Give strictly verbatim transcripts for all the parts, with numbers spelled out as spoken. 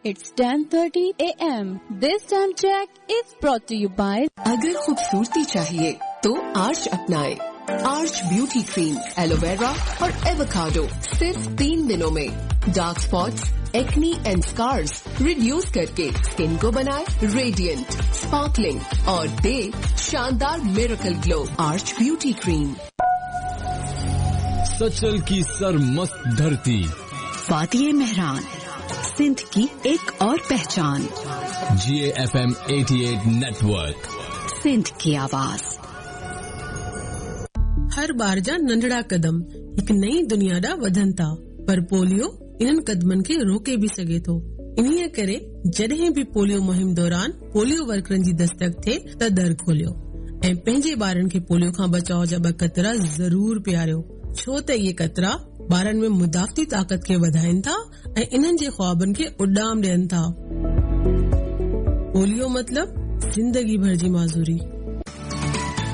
It's ten thirty A M. This time check is brought to you by अगर खूबसूरती चाहिए तो arch अपनाएं। Arch beauty cream, aloe vera और avocado सिर्फ तीन दिनों में dark spots, acne and scars reduce करके स्किन को बनाए रेडिएंट, स्पार्कलिंग और दे शानदार miracle glow. Arch beauty cream. Sachal की सरमस्त धरती, वादिये मेहरान, सिंध की एक और पहचान। G A F M अठासी नेटवर्क, सिंध की आवाज। हर ॿार जा नंढड़ा कदम हिकु नई दुनिया ॾांहुं वधनि था, पर पोलियो इन्हनि कदमनि खे रोके बि सघे थो। इन्हीअ करे जॾहिं बि पोलियो मुहिम दौरान पोलियो वर्करनि जी दस्तक थिए त दर खोलियो ऐं पंहिंजे ॿारनि खे पोलियो खां बचाव जा ॿ कतरा ज़रूर पीआरियो, छो त इहे कतरा ॿारनि में मुदाफ़ती ताक़त खे वधाइनि था ऐं इन्हनि जे ख़्वाबनि खे उॾाम ॾियनि था। पोलियो मतिलबु ज़िंदगी भर जी माज़ूरी।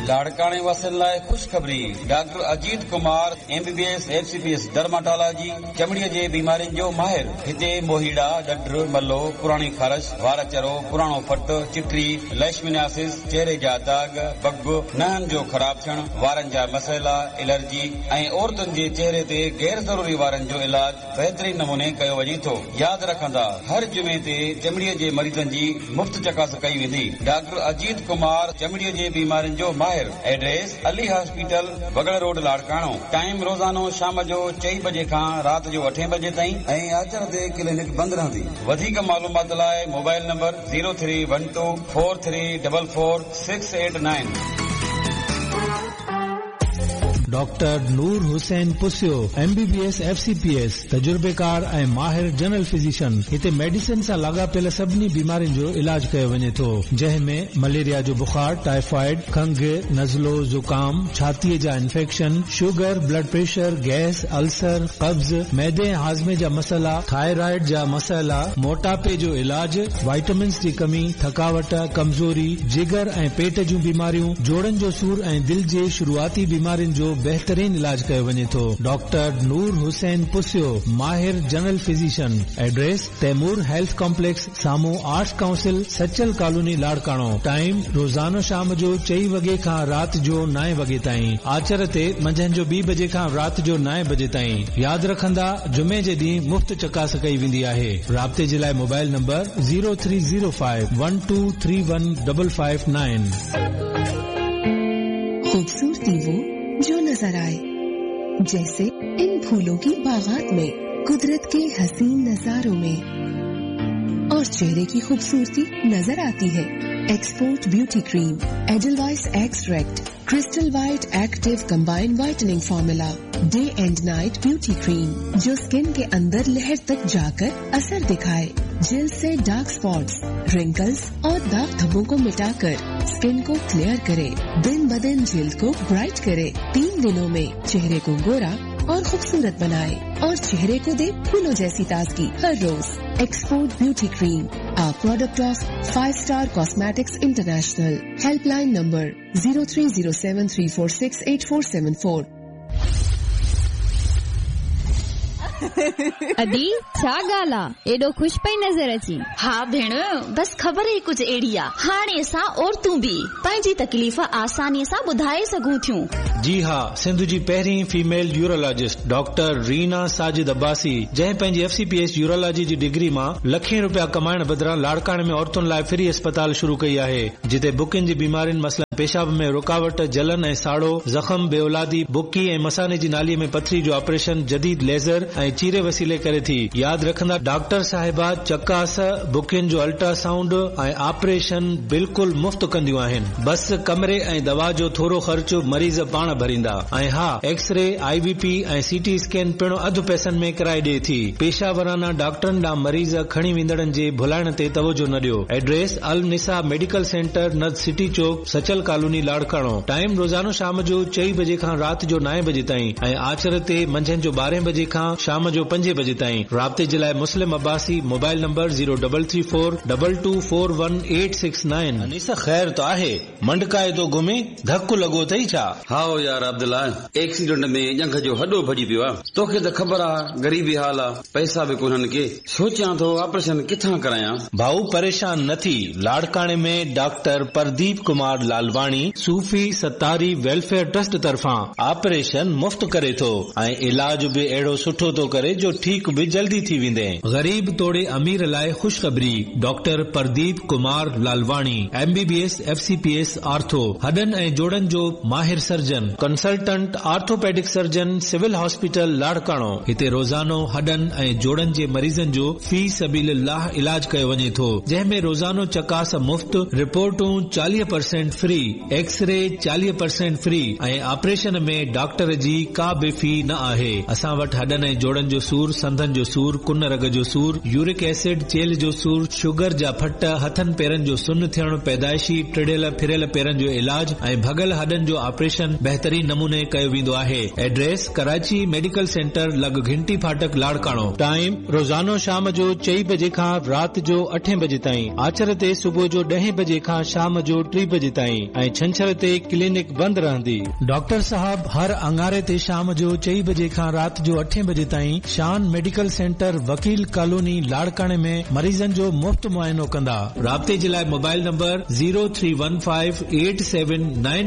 लाड़काणे वासियुनि लाइ ख़ुशख़बरी, doctor Ajit Kumar M B B S F C P S dermatology चमड़ीअ जे बीमारियुनि जो माहिर। हिते मोहीड़ा, डढ, मलो, पुराणी ख़ारश, वार चरो, पुराणो फट, चिटरी, लेशमिनासिस, चेहरे जा दाग, बग, नहनि जो ख़राब थियणु, वारनि जा मसइला, एलर्जी ऐं औरतुनि जे चेहरे ते गैर ज़रूरी वारनि जो इलाज बहितरीन नमूने कयो वञे थो। यादि रखंदा, हर जुमे ते चमड़ीअ जे मरीज़नि जी मुफ़्त चकास कई वेंदी। डॉक्टर अजीत कुमार चमड़ीअ जे बीमारियुनि जो माहिर। Address Ali hospital, Bagar road, Larkano. Time रोज़ानो शाम जो चई बजे खां रात जो अठे बजे ताईं ऐं आचर ते क्लिनिक बंदि रहंदी। वधीक मालूमात लाइ mobile number zero three one two four three double four six eight nine. Doctor Noor Hussain Pusio, M B B S F C P S, तजुर्बेकार ऐं माहिर जनरल फिजिशियन। हिते मेडिसिन सां लाॻापियल सभिनी बीमारियुनि जो इलाज कयो वञे थो, जंहिं में मलेरिया जो बुखार, टाइफाइड, खंघ, नज़लो, ज़ुकाम, छातीअ जा infection, sugar, blood pressure, gas, ulcer, कब्ज़, मैदे ऐं हाज़मे जा मसइला, थायराइड जा मसइला, मोटापे जो इलाज, वाइटामिन्स जी कमी, थकावट, कमज़ोरी, जिगर ऐं पेट जूं बीमारियूं, जोड़नि जो सूर ऐं दिलि जे शुरूआती बीमारियुनि जो बेहतरीन इलाज कयो वञे थो। डॉक्टर नूर हुसैन पुसियो, माहिर general physician. Address Taimur health complex, साम्हूं arts council, Sachal colony, Larkano. Time रोज़ानो शाम जो चई वॻे खां रात जो नाए वॻे ताईं। आचर ते मंझंदि जो ॿी बजे खां रात जो नाए बजे ताईं। यादि रखंदा, जुमे जे ॾींहुं मुफ़्त चकास कई वेंदी आहे। राब्ते जे लाइ mobile number zero three zero five one two three one double five nine. खूबसूरती वो जो नजर आए, जैसे इन फूलों की बागात में, कुदरत के हसीन नजारों में, और चेहरे की खूबसूरती नजर आती है। Export beauty cream, Edelweiss extract, crystal white active combine whitening formula, day and night beauty cream, जो स्किन के अंदर लहर तक जाकर असर दिखाए, जिल्द से डार्क स्पॉट्स, रिंकल्स और दाग धब्बों को मिटाकर स्किन को क्लियर करे, दिन ब दिन जिल्द को ब्राइट करे, तीन दिनों में चेहरे को गोरा और खूबसूरत बनाए और चेहरे को दे फूलों जैसी ताजगी हर रोज। Export beauty cream, a product of five star cosmetics international. Helpline number zero three zero seven three four six eight four seven four. अदी छा ॻाल्हि आहे, एॾो ख़ुशि पई नज़र अची? हा भेण, बसि ख़बर ई कुझु अहिड़ी आहे। हाणे असां औरतूं बि पंहिंजी तकलीफ़ आसानीअ सां ॿुधाए सघूं थियूं। जी हा, सिंध जी पहिरीं female urologist doctor Reena Sajid Abbasi, जंहिं पंहिंजी F C P S urology जी डिग्री मां लखें रुपया कमाइण बदिरां लाड़काणे में औरतुनि लाइ फ्री अस्पताल शुरू कई आहे, जिते बुकिन जी बीमारियुनि मसलन पेशाब में रुकावट, जलन ऐं साड़ो, ज़ख़म, बेऔलादी, बुकी ऐं मसाने जी नालीअ में पथरी जो ऑपरेशन जदीद लेज़र ऐं चीरे वसीले करे थी। यादि रखंदा, डॉक्टर साहिबा चकास, बुकिन जो अल्ट्रासाउंड ऐं ऑपरेशन बिल्कुलु मुफ़्त कंदियूं आहिनि। बसि कमरे ऐं दवा जो थोरो ख़र्च मरीज़ पाण भरींदा। ऐं हा, एक्सरे, I V P ऐं सी टी स्कैन पिणु अधु पैसनि में कराए ॾिए थी। पेशावराना डॉक्टरनि ॾांहुं मरीज़ खणी वेंदड़नि जे भुलाइण ते तवजो न ॾियो। Address Al Nisa medical centre, नद सिटी चौक, सचल Vakil colony Larkana. Time रोज़ानो शाम जो चई बजे खां राति जो नाइन बजे ताईं ऐं आचर ते मंझंदि जो ॿारहें बजे खां शाम जो पंजे बजे ताईं। राब्ते जे लाइ Muslim Abbasi, mobile number zero double three four double two four one eight six nine. Anisa ख़ैर त आहे, मंडकाए थो घुमे, धक लॻो अथई छा? हा यार अब्दुल्ला, एक्सीडेंट में ॼंघ जो हॾो भॼी पियो आहे। तोखे त ख़बर आहे ग़रीबी हाल आहे, पैसा बि कोन्हनि के। सोचां थो ऑपरेशन किथां करायां। भाऊ परेशान न थी, लाड़काणे में doctor Pradeep Kumar Lalwani Sufi Sattari welfare trust तरफ़ां ऑपरेशन मुफ़्त करे थो ऐं इलाज बि अहिड़ो सुठो थो करे जो ठीक बि जल्दी थी वेंदे। ग़रीब तोड़े अमीर लाइ ख़ुशख़बरी, doctor Pradeep Kumar Lalwani M B B S F C P S ortho, हॾनि ऐं जोड़नि जो माहिर surgeon, consultant orthopaedic surgeon, civil hospital Larkana. हिते रोज़ानो हॾनि ऐं जोड़नि जे मरीज़नि जो फी सबीलिल्लाह इलाज कयो वञे थो, जंहिंमें रोज़ानो चकास मुफ़्त, रिपोर्टूं चालीह परसेंट फ्री, एक्सरे चालीह परसेंट फ्री ऐं ऑपरेशन में डॉक्टर जी का बि फी न आहे। असां वटि हॾनि ऐं जोड़नि जो सूर, संधनि जो सूर, कुन रग जो सूर, यूरिक एसिड, चेल्ह जो सूर, शुगर जा फट, हथनि पेरनि जो सुन थियणु, पैदाइशी टिड़ियल फिरियल पेरनि जो इलाज ऐं भॻल हॾनि जो ऑपरेशन बहितरीन नमूने कयो वेंदो आहे। एड्रेस कराची मेडिकल सेंटर लॻ घंटी फाटक लाड़काणो। टाइम रोज़ानो शाम जो चई बजे खां राति जो अठे बजे ताईं, आचर ते सुबुह जो ॾहें बजे खां शाम जो टे बजे ताईं ऐं छंछर ते क्लिनिक बंदि रहंदी। डॉक्टर साहब हर अंगारे ते शाम जो चई बजे खां राति जो अठे बजे ताईं शान मेडिकल सेंटर वकील कॉलोनी लाड़काणे में मरीज़नि जो मुफ़्त मुआइनो कंदा। राब्ते जे लाइ mobile number zero three one five eight seven nine